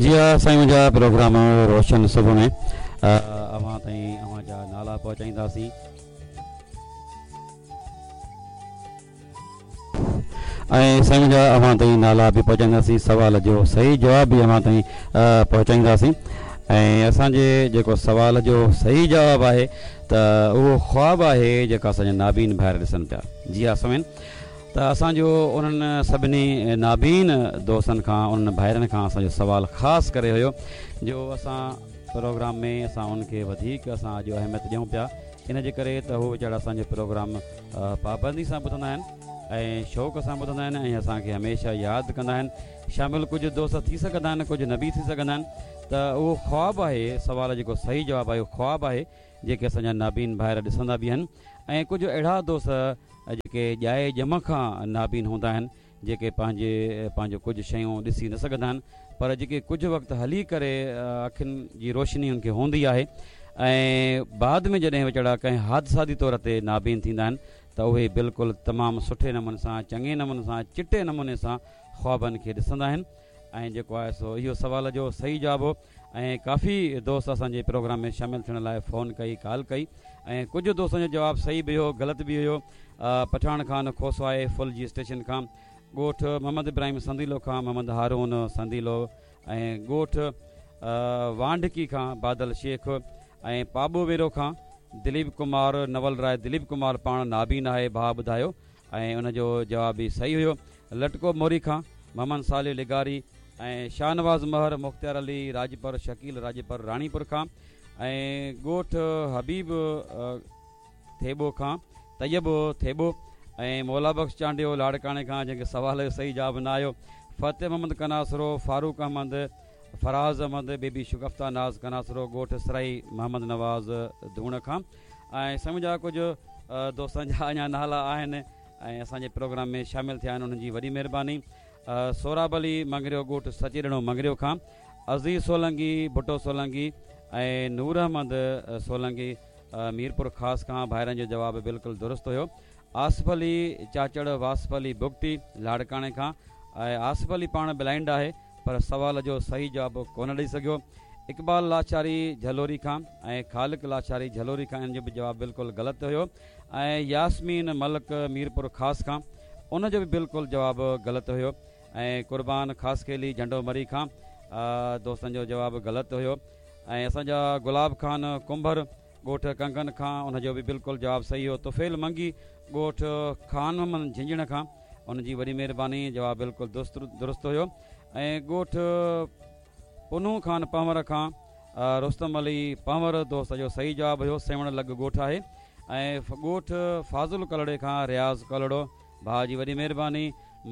جي ها سائين منهنجا پروگرام روشن صبح ۾ اوهان تائين اوهان جا نالا پهچائينداسين. ۽ سائين منهنجا اوهان تائين نالا به پهچائينداسين سوال جو صحيح جواب به اوهان تائين پهچائينداسين ۽ اسان جي جيڪو سوال جو صحيح جواب آهي ته اهو خواب آهي جيڪا اسان جا نابين ڀائر ڏسن پيا جي ها سامعين ته اسان جو انهن سڀني نابين دوستن کان انهن ڀائرن کان اسان جو سوال خاص ڪري هيو جو اسان پروگرام ۾ اسان انهن کي وڌيڪ اسان اڄ اهميت ڏيون پيا ان جي ڪري ته هو ويچارا اسان جو پروگرام پابندي سان ٻڌندا آهن ۽ شوق سان ٻڌندا آهن ۽ اسان کي هميشه ياد ڪندا آهن شامل ڪجهه دوست ٿي سگهندا آهن ڪجهه نه به ٿي سگهندا آهن ته اهو خواب آهي سوال جيڪو صحيح جواب آهي اهو خواب آهي جيڪي اسان جا نابين ڀائر ڏسندا به آهن ۽ ڪجهه اهڙا دوست جيڪي ڄائي ڄم کان نابين هوندا آهن جيڪي پنهنجي پنهنجو ڪجهه شيون ڏسي نه سگهندا آهن پر جيڪي ڪجهه وقت هلي ڪري اکين جي روشني ان کي هوندي آهي ۽ بعد ۾ جڏهن ويچارا ڪنهن حادثاتي طور تي نابين ٿيندا آهن ته اهي بلڪل تمام سٺي نموني سان چڱي نموني سان چٽي نموني سان خوابن کي ڏسندا آهن ۽ جيڪو آهي سو اهو سوال جو صحيح جواب هو ۽ ڪافي دوست اسان جي پروگرام ۾ شامل ٿيڻ لاء فون ڪئي ڪال ڪئي ۽ ڪجهه دوستن جو جواب صحيح به هيو غلط به هيو پٺاڻ خان کوسو آهي ڦلجي اسٽيشن کان ڳوٺ محمد ابراهيم سنديلو کان محمد هارون سنديلو ۽ ڳوٺ وانڍڪي کان بادل شيخ ۽ پاٻو ويرو کان دليپ ڪمار نول راء دليپ ڪمار پاڻ نابين آهي ڀاء ٻڌايو ۽ ان جو جواب به صحيح هيو. لٽڪو موري کان محمد صالح لغاري ۽ شاهنواز مهر، مختيار علي راڄپر، شڪيل راڄپر راڻيپور کان ۽ ڳوٺ حبيب ٿيٻو کان طيب ٿيٻو ۽ مولا بخش چانڊيو لاڙڪاڻي کان جنهن کي سوال جو صحيح جواب نه آيو، فتح محمد قناصرو، فاروق احمد، فراز احمد، بيبي شگفته ناز قناصرو ڳوٺ سرائي محمد نواز ڌوڻ کان ۽ سمجهه ڪجهه دوستن جا اڃا نالا آهن ۽ اسان جي پروگرام ۾ شامل ٿيا آهن انهن جي وڏي مهرباني سهراب علي مڱريو ڳوٺ سچيڏنو مڱريو کان عزيز سولنگي ڀٽو سولنگي ۽ نور احمد سولنگي ميرپور خاص کان ڀائرن جو جواب بلڪل درست هيو آصف علي چاچڙ واصف علي بگٽي لاڙڪاڻي کان ۽ آصف علي پاڻ بلائنڊ آهي پر سوال جو صحيح جواب ڪونه ڏئي سگهيو. اقبال لاشاري جهلوري کان ۽ خالق لاشاري جهلوري کان ان جو به جواب بلڪل غلط هيو ۽ ياسمين ملڪ ميرپور خاص کان ان جو به بلڪل جواب غلط هيو ۽ قربان خاصخيلي جهنڊو مري کان دوستن جو جواب غلط هيو ۽ اسان جا گلاب خان ڪنڀر ڳوٺ ڪنگن کان ان جو به بلڪل جواب صحيح هيو. طفيل منگي ڳوٺ خان محمد جهنجهڻ کان ان جي وڏي مهرباني جواب بلڪل درست هيو ۽ ڳوٺ پنهون خان پنهور کان رستم علي پنهور دوست جو صحيح جواب هيو سيوهڻ لڳ ڳوٺ آهي ۽ ڳوٺ فاضل ڪلهوڙي کان رياض ڪلهوڙو ڀاء جي وڏي مهرباني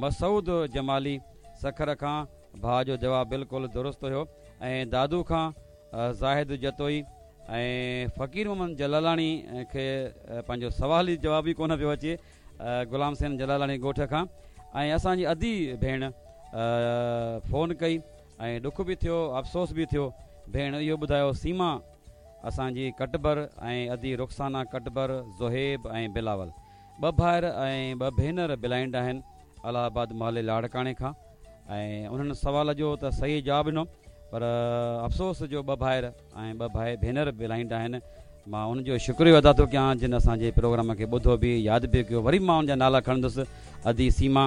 مسعود جمالي سکر کان ڀاء جو جواب بلڪل درست هيو ۽ دادو کان زاهد جتوئي ۽ فقير محمد جلالاڻي کي پنهنجو سوال جي جواب ئي ڪونه پيو اچي غلام حسين جلالاڻي ڳوٺ کان ۽ اسان جي ادي ڀيڻ فون ڪئي ۽ ڏک به ٿيو افسوس به ٿيو ڀيڻ اهو ٻڌايو سيما اسان جي ڪٽبر ۽ ادي رخسانه ڪٽبر زوهيب ۽ بلاول ٻه ڀائر ۽ ٻه ڀينر بلائنڊ آهن الهه آباد محلي لاڙڪاڻي کان ۽ انهن سوال جو ته صحيح جواب ڏنو پر افسوس جو ٻه ڀائر ۽ ٻه ڀائي ڀينر بلائنڊ آهن مان انهن جو شڪريو ادا ٿو ڪيان جن اسان جي پروگرام کي ٻڌو به ياد به ڪيو وري مان ان جا نالا کڻندس ادي سيما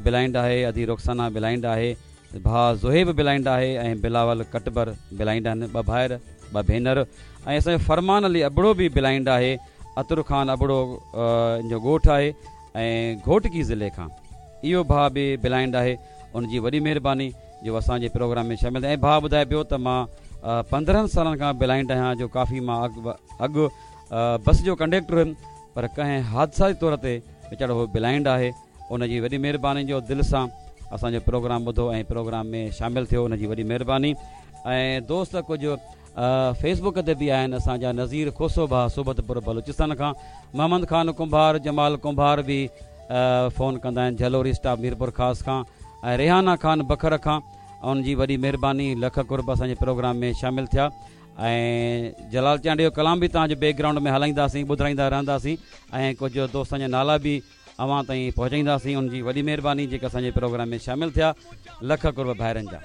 بلائنڊ آهي ادي رخسانه بلائنڊ آهي ڀاء زوهيب بلائنڊ آهي ۽ بلاول ڪٽبر بلائنڊ آهن ٻه ڀائر ٻه ڀينر ۽ اسان جو فرمان علي ابڙو به بلائنڊ آهي عطر خان ابڙو ان جو ڳوٺ آهي ۽ گهوٽڪي ضلعي کان اهو ڀاء به بلائنڊ آهي ان جي وڏي مهرباني جو اسان جي پروگرام ۾ شامل ٿيا ۽ ڀاء ٻڌائي پيو ته مان 15 سالن کان بلائنڊ آهيان جو ڪافي مان اڳ بس جو ڪنڊيڪٽر هيم پر ڪنهن حادثاتي طور تي ويچارو هو بلائنڊ آهي ان جي وڏي مهرباني جو دل سان اسان جو پروگرام ٻڌو ۽ پروگرام ۾ شامل ٿيو ان جي وڏي مهرباني ۽ دوست ڪجهه فيس بڪ تي به آهن اسان جا نذير کوسو ڀاء صحبت پور بلوچستان کان محمد خان ڪنڀار جمال ڪنڀار به فون ڪندا آهن جهلوري اسٽاپ ميرپور خاص کان ۽ ريحانه خان بکر کان ان جي وڏي مهرباني لک قرب اسان جي پروگرام ۾ شامل ٿيا ۽ جلال چانڊيو جو ڪلام به توهان جي بيڪ گرائونڊ ۾ هلائينداسين ٻڌرائيندا رهنداسين ۽ ڪجهه دوستن جا نالا به اوهان تائين پهچائينداسين ان جي وڏي مهرباني جيڪا اسان جي پروگرام ۾ شامل ٿيا لک قرب ڀائرن جا.